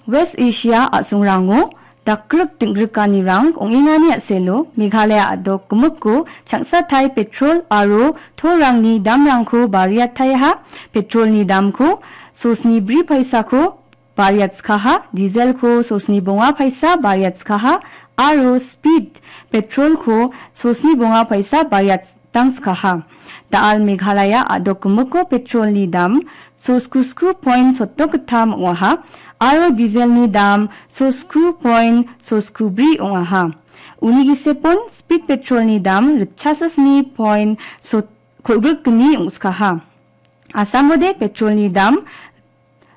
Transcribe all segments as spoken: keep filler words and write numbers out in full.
West Asia a·songrango dakgrip ding·grikanirang ong·engani a·selo Meghalaya a·dok gimikko changsatai petrol aro tolrangni damrangko bariataiaha. Petrolni damko sosni bri paisako bariatskaha, dieselko sosni bonga paisa bariatskaha, aro speed petrolko sosni bonga paisa bariatdangskaha. Da·al Meghalaya a·dok gimikko petrolni dam sosku sku point sotdok gittam ong·aha, aro dieselni dam sosku point sosku bri ong·aha. Uni gisepon speed petrolni dam ritchasa sni point sot-, kolgrik gni ong·skaha. Asamode petrolni dam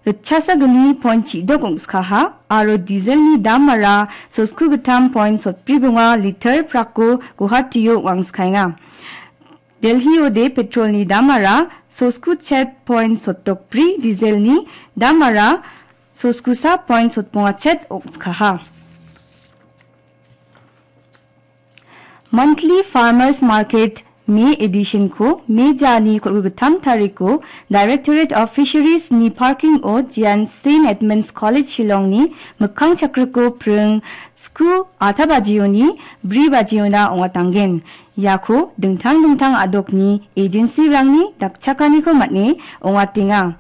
ritchasa gni point chidok ong·skaha, aro dieselni damara sosku gittam point sotbri bonga liter prakko Guwahatio ong·angskaenga. Delhiode petrolni damara sosku chet point sotdok bri, dieselni damara soskusa point sotbonga chet ong·skaha. Monthly Farmers Market May edition-ko May jani kolgrik gittam tariko Directorate of Fisheries-ni parking-o Jian Saint Edmund's College Shillong-ni mikkang chakriko pring sku a ta bajioni bri bajiona ong·atanggen. Iako dingtang dingtang a·dokni agency-rangni dakchakaniko man·e ong·atenga.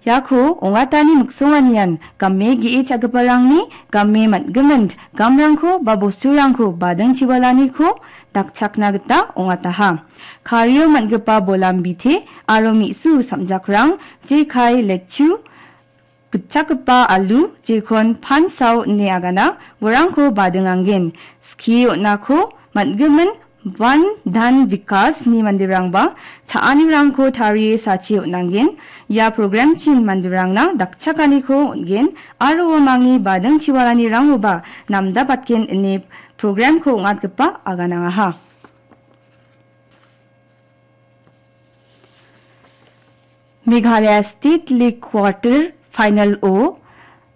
Iako ong·atani miksonganian game ge·e cha·giparangni game man·gimin gamrangko ba bosturangko bading chiwalaniko dakchakna gita ong·ataha. Kario man·gipa bolam bite aro me·su samjakrang, jekai, letchu, gitchakgipa alu, jekon pansao ine agana, uarangko badinganggen. Skie on·ako man·gimin Van Dhan Vikas-ni manderangba cha·anirangko tarie sachi on·angen. Ia program-chin manderangna dakchakaniko on·gen aro uamangni bading chiwalanirangoba namdabatgen ine program-ko ong·atgipa aganangaha. Meghalaya State League Quarter Final-o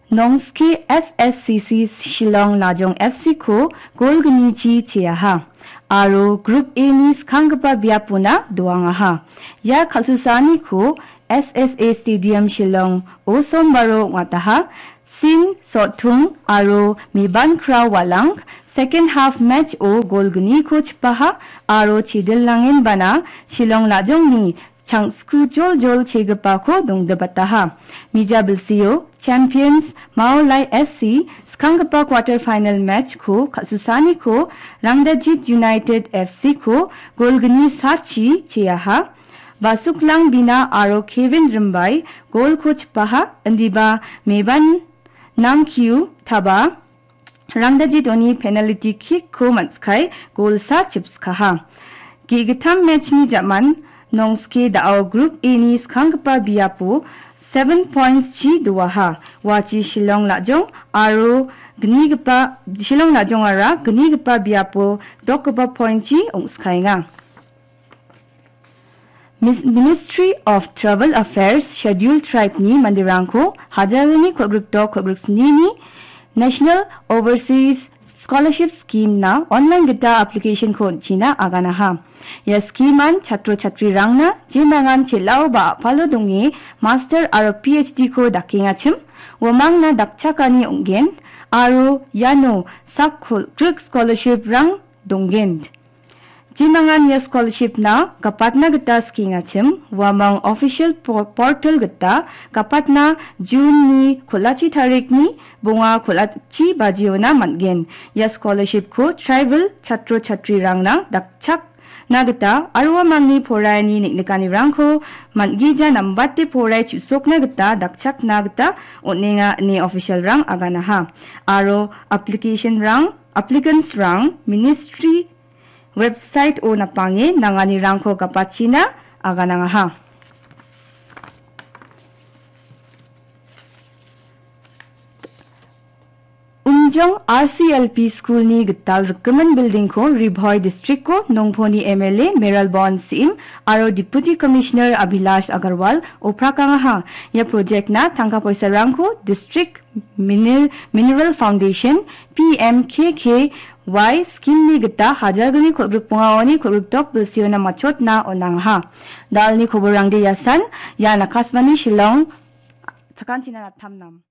Nongske S S C C Shillong Lajong F C-ko gol gnichi cheaha aro Group A-ni skanggipa biapona doangaha. Ia kal·susaaniko S S A Stadium Shillong-o sombaro ong·ataha. Sin Sothung aro Meban Krao Walang second half match-o gol gniko chipaha aro Chidil Langenbana Shillong Lajongni changsku joljol chegipako dongdibataha. Mija bilsio champions Maolai S C skanggipa quarter final match-ko kal·susaaniko Rangjajit United F C-ko gol gni sachi cheaha. Basuklang Bina aro Kevin Rimbai golko chipaha, indiba Meban Nangkiu Taba Rangjajitoni penalty kick-ko man·skai golsa chipskaha. Ge·gittam match-ni ja·man Nongske da·o Group A-ni skanggipa biapo seven points-chi doaha. Uachi Shillong Lajong aro gnigipa, Shillong Lajongara gnigipa biapo dokgipa point-chi ong·skaenga. Mis-, Ministry of Tribal Affairs Scheduled Tribe-ni manderangko hajalni kolgrikdok kolgriksnini National Overseas Scholarship Scheme-na online gita application-ko on·china aganaha. Ia scheme-an chatro chatrirangna jemangan chel·ao ba a·palo donge master aro P H D-ko dakengachim uamangna dakchakani ong·gen aro iano sak kolgrik scholarship-rang dongen. Jemangan ia scholarship-na gapatna gita skengachim, uamang official po-, portal gita gapatna June-ni kol·achi tarikni bonga kol·achi bajiona man·gen. Ia scholarship-ko tribal chatro chatrirangna dakchakna gita aro uamangni poraiani neng·nikanirangko man·gija nambate porai chu·sokna gita dakchakna gita on·enga ine official-rang aganaha. Aro application-rang, applicants-rang ministry website-o napange nanganirangko gapachina aganangaha. Umjong R C L P school-ni gital rikgimin building-ko Ri Bhoi district-o Nongponi M L A Mayralborn Syiem aro Deputy Commissioner Abhilash Agarwal oprakangaha. Ia project-na tangka poisarangko District Miner-, Mineral Foundation, P M K K Y scheme-ni gita hajalgni kolgrikbongaoni kolgrikdok bilsiona matchotna on·angaha. Dalni koborangde iasan, ian Akashvani Shillong, sakantina Nattamnam.